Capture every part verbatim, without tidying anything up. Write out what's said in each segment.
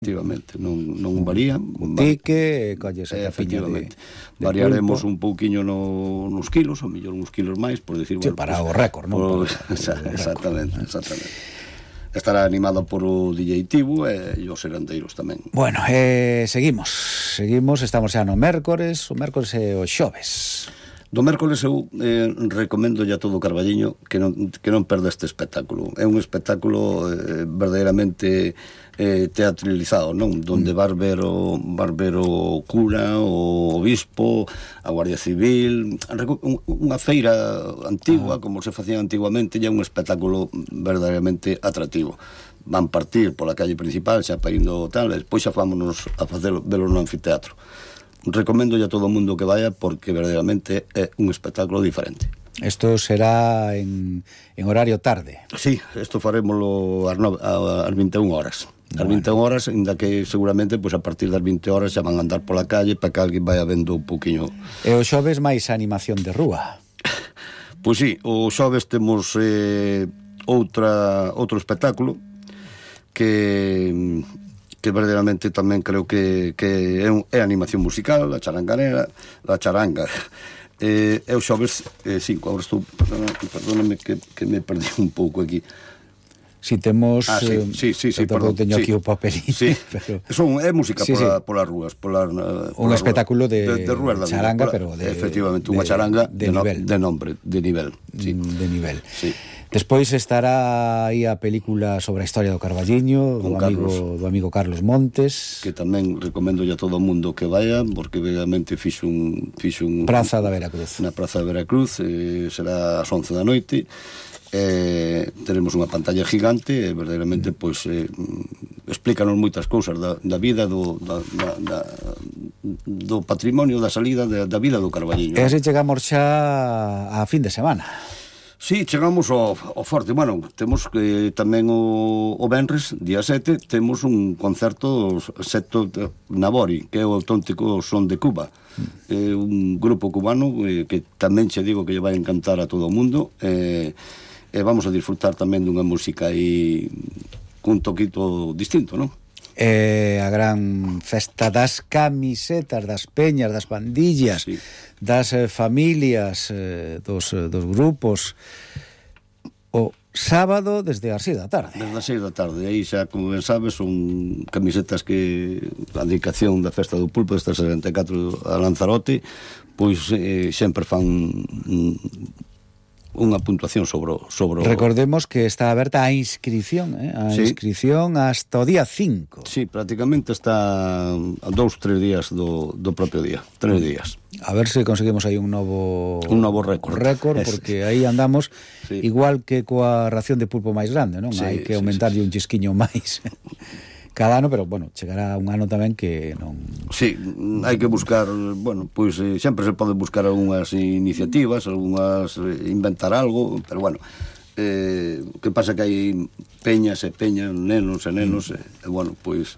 Efectivamente, non, non varía. Un tique, colles a capiña de, de variaremos pulpo. Un pouquiño no, nos kilos, ou mellor uns kilos máis, por decir, sí, bueno, para pues, o récord, non? Por, para, para exactamente, récord. exactamente. Estará animado por o D J Tibu e os herandeiros tamén. Bueno, eh, seguimos, seguimos, estamos xa no mércores, o mércores e o xoves. Do mércoles eu eh, recomendo a todo o Carballiño que non, que non perda este espectáculo. É un espectáculo eh, verdadeiramente eh, teatralizado, non? Donde vas ver o, vas ver o cura, o obispo, a Guardia Civil, unha feira antigua, ah. como se facía antiguamente, e é un espectáculo verdadeiramente atractivo. Van partir pola calle principal, xa pa indo tal, e despois xa vámonos a facer velo no anfiteatro. Recomendo a todo o mundo que vaya porque verdadeiramente é un espectáculo diferente. Isto será en, en horario tarde. Sí, isto farémoslo ás, nove, ás vinte e unha horas. Ás bueno. vinte e unha horas, ainda que seguramente pues, a partir das vinte horas xa van a andar pola calle para que alguén vaya vendo un poquinho. E o xoves máis animación de rúa. Pois sí, o xoves temos eh, outra outro espectáculo que que verdadeiramente tamén creo que, que é, un, é animación musical, a charanganera, a charanga. Eh, é o xoves cinco, eh, agora estou, perdóname que, que me perdí un pouco aquí. Si temos... Ah, sí, sí, sí, sí, perdón, teño sí. aquí o papelito. Sí, pero... Son, é música sí, pola, sí. polas rúas. Pola, pola un espectáculo de, de, de, rúas de charanga, pola, pero de... Efectivamente, unha charanga de, de, de, no, nivel. de nombre, de nivel. Sí. De nivel. Sí. Despois estará aí a película sobre a historia do Carballiño, do amigo, do amigo Carlos Montes, que tamén recomendo a todo o mundo que vaya, porque realmente fixo un, fixo un Praza da Veracruz. Na Praza da Veracruz, eh, será ás once da noite. Eh, teremos unha pantalla gigante e verdadeiramente pois eh, explícanos moitas cousas da, da vida do, da, da, da, do patrimonio, da salida da, da vida do Carballiño. E así chegamos xa a fin de semana. Sí, chegamos ao, ao forte. Bueno, temos que tamén o, o venres, día sete, temos un concerto Secto Nabori, que é o auténtico son de Cuba. É eh, un grupo cubano eh, que tamén che digo que lle vai encantar a todo o mundo. E eh, eh, vamos a disfrutar tamén dunha música aí cun toquito distinto, non? Eh, a gran festa das camisetas, das peñas, das pandillas, sí. das eh, familias, eh, dos, eh, dos grupos, o sábado desde as seis da tarde. Desde as seis da tarde, aí xa, como ben sabes, son camisetas que a dedicación da festa do pulpo desta setenta e catro a Lanzarote, pois eh, sempre fan mm, unha puntuación sobre o, sobre o... Recordemos que está aberta a inscripción, eh? a sí. inscripción hasta o día cinco. Sí, prácticamente está a dous, tres días do, do propio día, tres días. A ver se conseguimos aí un novo... Un novo récord. récord, porque aí andamos sí. igual que coa ración de pulpo máis grande, non? Sí, hai que sí, aumentarlle sí, sí. un chisquiño máis cada ano, pero, bueno, chegará un ano tamén que non... Sí, hai que buscar, bueno, pois eh, sempre se pode buscar algunhas iniciativas, algunhas, eh, inventar algo, pero, bueno, eh, que pasa que hai peñas e peñas, nenos e nenos, mm. e, e, bueno, pois,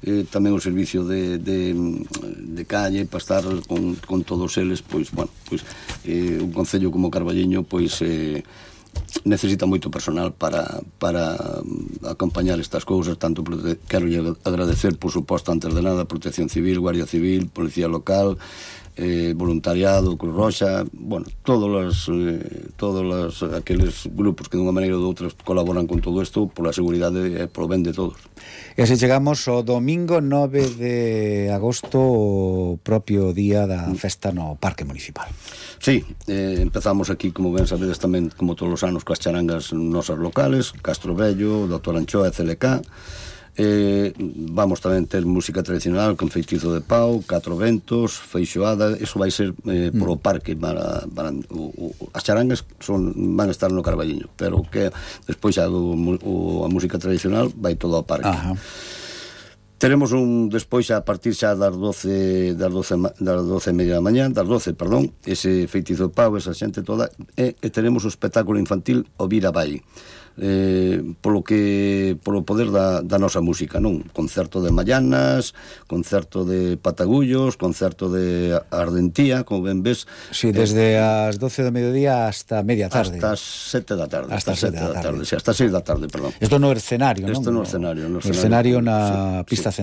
eh, tamén o servicio de, de, de calle, para estar con, con todos eles, pois, bueno, pois, eh, un concello como Carballiño, pois, eh, necesita moito personal para, para acompañar estas cousas, tanto prote... quero agradecer, por suposto, antes de nada, Protección Civil, Guardia Civil, Policía Local, eh, voluntariado, Cruz Roxa, bueno, todos os eh, todos os, aqueles grupos que dunha maneira ou de outra colaboran con todo isto pola seguridade e polo ben de todos. E así chegamos ao domingo nove de agosto, o propio día da festa no Parque Municipal. Sí, eh, empezamos aquí, como ben sabedes tamén, como todos os anos, coas charangas nosas locales, Castro Vello, Doctor Anchoa e C L K. Eh, vamos tamén ter música tradicional con Feitizo de Pau, Catro Ventos, Feixoada. Eso vai ser eh, por o parque para, para o, o, as charangas son, van a estar no Carballiño, pero que despois xa o, o, a música tradicional vai todo ao parque. Ajá. Teremos un despois a partir xa das doce das doce das doce e media da mañá, das doce, perdón, ese Feitizo de Pau, esa xente toda, e, e teremos o espectáculo infantil O Vira Vai. Eh, polo que polo poder da, da nosa música, non? Concerto de Mallanas, concerto de Patagullos, concerto de Ardentía, como ben ves. Sí, desde eh, as doce do mediodía hasta media tarde. Hasta as sete da tarde. Hasta, hasta sete da tarde. tarde. Sí, hasta seis da tarde, perdón. Isto no escenario, non? Isto no escenario, no escenario, escenario na sí, pista sí. central.